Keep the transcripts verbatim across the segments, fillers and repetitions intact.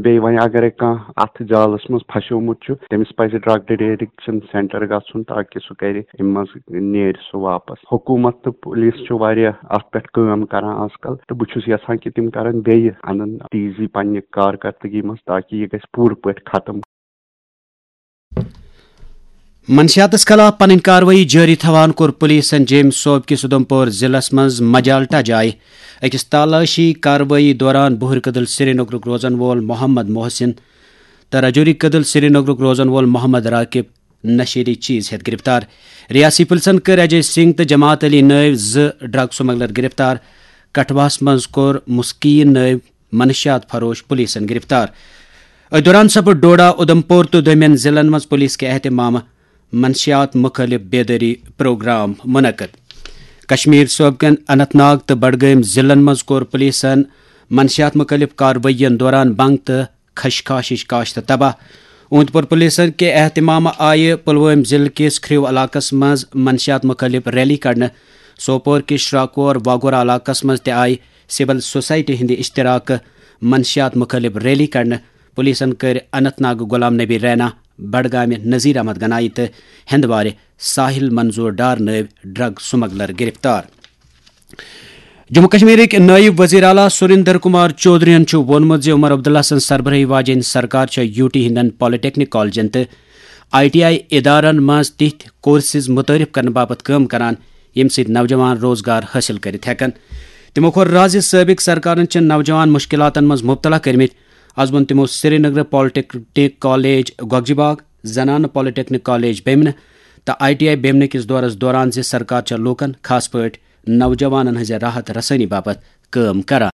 بیٚیہِ وۄنۍ اگرے کانٛہہ اتھ جالس منٛز پھسیومُت چھُ، تٔمِس پزِ ڈرگ ڈیڈکشن سینٹر گژھُن، تاکہِ سُہ کرِ امہِ منٛز، نیرِ سُہ واپس۔ حکوٗمت تہٕ پُلیٖس چھُ واریاہ اتھ پٮ۪ٹھ کٲم کران آز کل، تہٕ بہٕ چھُس یژھان کہِ تِم کرن بیٚیہِ، انن تیزی پننہِ کارکردگی منٛز، تاکہِ یہِ گژھِ پوٗرٕ پٲٹھۍ ختم۔ منشیاتس خلاف پنٕنۍ کاروٲیی جٲری تھاوان کوٚر پُلیٖسن جیٚمۍ صوبہٕ کِس اُدھمپور ضلعس منٛز مجالٹا جایہِ أکِس تلاشی کاروٲیی دوران بُہٕرۍ کدل سرینگرُک روزن وول محمد محسن تہٕ رجوری کدل سرینگرُک روزن وول محمد راقب نشیری چیز ہیتھ گرفتار۔ ریاستی پُلسن کٔر اجے سنگھ تہٕ جماعت علی نٲوۍ زٕ ڈرگ سمگلر گرفتار۔ کٹھواہس منٛز کوٚر مسکین نٲوۍ منشیات فروش پُلیٖسن گرفتار۔ أتھۍ دوران سپُد ڈوڈا، اُدھمپور تہٕ دوٚیمٮ۪ن ضلعن منٛز پُلیٖس کہِ اہتمامہٕ منشیات مُخٲلف بیدٲری پروگرام منعقد۔ کشمیر صوبہٕ کٮ۪ن اننت ناگ تہٕ بڈگٲمۍ ضلعن منٛز کوٚر پُلیٖسن منشیات مُخٲلف کاروٲیین دوران بنٛگ تہٕ خشخاشٕچ کاشت تباہ۔ اوٗنت پور پُلیٖسن کہِ اہتمامہٕ آیہِ پُلوٲمۍ ضلعہٕ کِس کھرٛیو علاقس منٛز منشیات مُخٲلف ریلی کڑنہٕ۔ سوپور کِس شراکور واگورہ علاقس منٛز تہِ آیہِ سول سوسائٹی ہٕنٛدِ اشتراکہٕ منشیات مُخٲلف ریلی کڑنہٕ۔ پُلیٖسن کٔرۍ اننت ناگ غلام نبی رینا، بڈگامہِ نذیر احمد گنایی تہٕ ہندوارِ ساحل منظور ڈار نٲوۍ ڈرگ سمگلر گرفتار۔ جموں کشمیرٕکۍ نٲیِب وزیر اعلیٰ سریندر کمار چودھرین چھُ ووٚنمُت زِ عمر عبداللہ سٕنٛز سربرٲہی واجیٚنۍ سرکار چھےٚ یوٗ ٹی ہٕنٛدٮ۪ن پالیٹیکنک کالجن تہٕ آئی ٹی آئی ادارن منٛز تِتھۍ کورسز متعارف کرنہٕ باپتھ کٲم کران، ییٚمہِ سۭتۍ نوجوان روزگار حٲصِل کٔرِتھ ہٮ۪کن۔ تِمو کوٚر راز زِ سٲبق سرکارن چھِ نوجوان مشکلاتن منٛز مبتلا کٔرمٕتۍ۔ از ووٚن تِمو سرینگرٕ پالیٹیکنک کالج گۄگجہِ باغ، زنانہٕ پالیٹیکنک کالج بیمنہٕ تہٕ آئی ٹی آئی بیمنہٕ کِس دورس دوران زِ سرکار چھےٚ لوٗکن، خاص پٲٹھۍ نوجوانن ہٕنٛزِ راحت رسٲنی باپتھ کٲم کران۔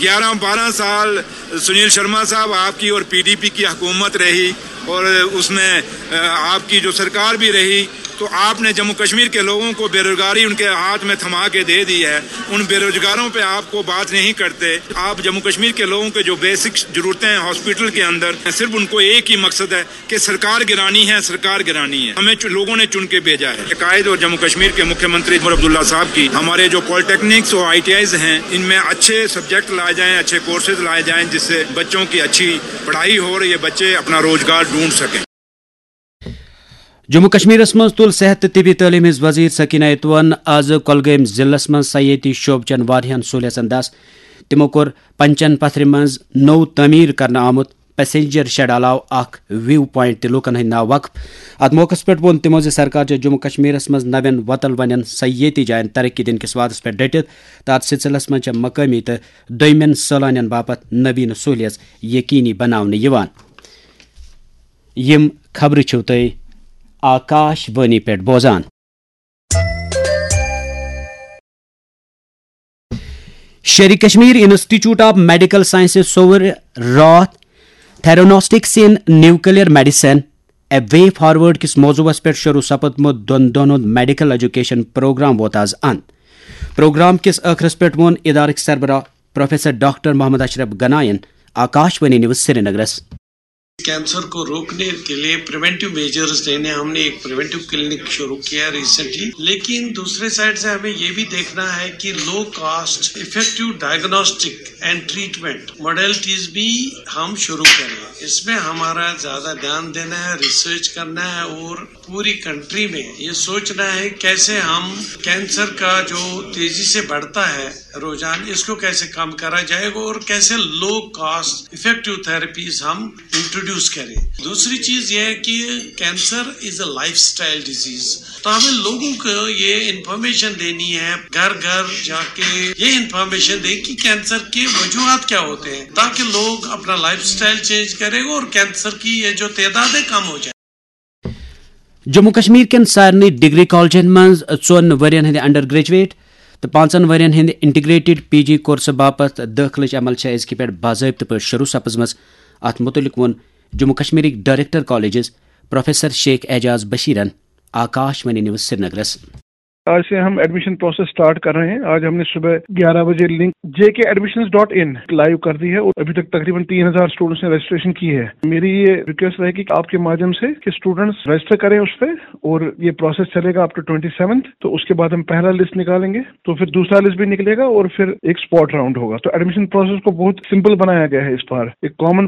گیارہ بارہ سال سنیل شرما صاحب، آپ کی اور پی ڈی پی کی حکومت رہی اور اس میں، آ، آپ کی جو سرکار بھی رہی، تو آپ نے جموں کشمیر کے لوگوں کو بے روزگاری ان کے ہاتھ میں تھما کے دے دی ہے۔ ان بے روزگاروں پہ آپ کو بات نہیں کرتے۔ آپ جموں کشمیر کے لوگوں کے جو بیسک ضرورتیں ہیں ہاسپٹل کے اندر، صرف ان کو ایک ہی مقصد ہے کہ سرکار گرانی ہے، سرکار گرانی ہے۔ ہمیں چ-، لوگوں نے چن کے بھیجا ہے۔ قائد اور جموں کشمیر کے مکھیہ منتری عمر عبداللہ صاحب کی ہمارے جو پالیٹیکنکس اور آئی ٹی آئیز ہیں، ان میں اچھے سبجیکٹ لائے جائیں، اچھے کورسز لائے جائیں، جس سے بچوں کی اچھی پڑھائی ہو اور یہ بچے اپنا روزگار ڈھونڈ سکیں۔ جموں کشمیرس منٛز تُل صحت تہٕ طبی تعلیٖم ہٕنٛز وزیر سکینہ اتوَن آز کۄلگٲمۍ ضلعس منٛز سیٲحتی شعبہٕ چٮ۪ن واریاہن سہوٗلیژن دس۔ تِمو کوٚر پنچن پتھرِ منٛز نوٚو تعمیٖر کرنہٕ آمُت پیسنجر شیڈ علاوٕ اکھ ویو پوینٹ تہِ لوٗکن ہٕنٛدۍ ناوٕ وقف۔ اتھ موقعس پٮ۪ٹھ ووٚن تِمو زِ سرکار چھےٚ جموں کشمیرس منٛز نوٮ۪ن وۄتل ونٮ۪ن سیٲحتی جاین ترقی دِنہٕ کِس وعدس پٮ۪ٹھ ڈٔٹِتھ تہٕ اتھ سلسلس منٛز چھےٚ مقٲمی تہٕ دوٚیمٮ۪ن سٲلانٮ۪ن باپتھ نویٖنہٕ سہوٗلیژ یقینی بناونہٕ یِوان۔ یِم خبرٕ چھِو تُہۍ آکاش وانی پٮ۪ٹھ بوزان۔ Sher Kashmir institute of medical sciences Soura راتھ Theranostics in Nuclear Medicine: A Way Forward کِس موضوعس پٮ۪ٹھ شروع سپدمُت دۄن دۄہن ہُنٛد میڈیکل ایجوکیشن پروگرام ووت از اند۔ پروگرام کِس ٲخرس پٮ۪ٹھ ووٚن ادارٕکۍ سربراہ پروفیسر ڈاکٹر محمد اشرف گناین آکاش وانی نیوز سرینگرس۔ کینسر کو روکنے کے لیے پریونٹیو میجرز لینے، ہم نے ایک پریونٹیو کلینک شروع کیا ریسنٹلی، لیکن دوسرے سائیڈ سے ہمیں یہ بھی دیکھنا ہے کہ low cost effective diagnostic and treatment modalities بھی ہم شروع کریں۔ اس میں ہمارا زیادہ دھیان دینا ہے، ریسرچ کرنا ہے اور پوری کنٹری میں یہ سوچنا ہے کیسے ہم کینسر کا جو تیزی سے بڑھتا ہے رجحان، اس کو کیسے کم کرا جائے گا اور کیسے لو کاسٹ افیکٹو تھراپیز ہم انٹروڈیوس کریں۔ دوسری چیز یہ ہے کہ cancer is a lifestyle disease, تو ہمیں لوگوں کو یہ انفارمیشن دینی ہے، گھر گھر جا کے یہ انفارمیشن دیں کہ کینسر کے وجوہات کیا ہوتے ہیں، تاکہ لوگ اپنا لائف اسٹائل چینج کریں اور کینسر کی یہ جو تعداد ہے کم ہو جائے۔ جموں کشمیر کٮ۪ن سارنٕے ڈگری کالجن منٛز ژۄن ؤرین ہٕنٛدِ انڈر گریجویٹ تہٕ پانٛژن ؤرین ہٕنٛدِ انٹیگریٹڈ پی جی کورسہٕ باپتھ دٲخلٕچ عمل چھےٚ أزکہِ پٮ۪ٹھ باضٲبطہٕ پٲٹھۍ شروع سپٕزمٕژ۔ اتھ مُتعلق ووٚن جموں کشمیرٕکۍ director colleges professor Sheikh Ajaz بشیرن آکاش وانی نیوز سرینگرس۔ आज से हम एडमिशन प्रोसेस स्टार्ट कर रहे हैं। आज हमने सुबह ग्यारह बजे लिंक जे के एडमिशंस डॉट इन लाइव कर दी है और अभी तक तकरीबन तीन हज़ार स्टूडेंट्स ने रजिस्ट्रेशन की है। मेरी ये रिक्वेस्ट रहेगी कि आपके माध्यम से कि स्टूडेंट्स रजिस्टर करें उस पे, और ये प्रोसेस चलेगा अप टू ट्वेंटी सेवंथ। तो उसके बाद हम पहला लिस्ट निकालेंगे, तो फिर दूसरा लिस्ट भी निकलेगा और फिर एक स्पॉट राउंड होगा। तो एडमिशन प्रोसेस को बहुत सिंपल बनाया गया है इस बार। एक कॉमन